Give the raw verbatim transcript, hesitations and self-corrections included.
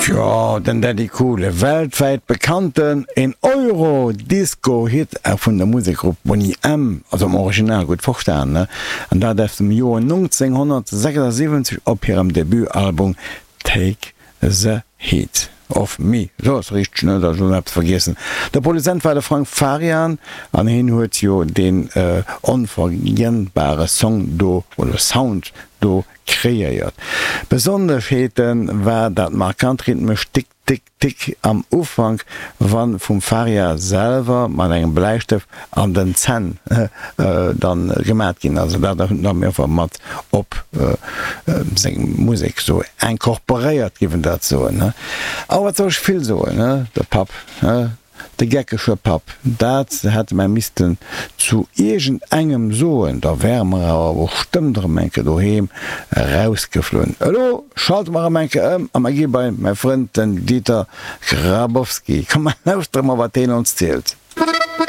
Jo, den Daddy Cool, e weltwäit bekannten, en Euro-Disco-Hit vun der Musekgrupp Boney M, also am Original, gutt verstan, ne? An dat aus dem Joer nonzénghonnertsechsundsiwwenzeg op hirem Debutalbum Take the Heat Off Me. Sou ass richteg, ne? Da hu ech elo eppes vergiessen. De Produzent war de Frank Farian an hien huet jo deen onvergiennbare Song do, oder Sound do kreéiert. Besonneschheete war dat markant rhythmescht Tick, Tick, Tick am Ufank, wann vum Faria selwer mat engem Bläistëft an den Zänn dann gemat ginn ass. Dat huet en dann einfach mat op seng Musek sou incorporéiert, giff en dat soen. A wat soll ech vill soen, de Papp. De geckege Papp, dat hätte mer missten zu iergend engem soen, da wäre mer awer bestëmmt erëm eng Kéier doheem erausgeflunn. Elo schalte mer erëm eng Kéier ëm a mer gi bei mäi Frënd den Dieter Grabowski. Komm mer lauschtere mol wat deen ons zielt.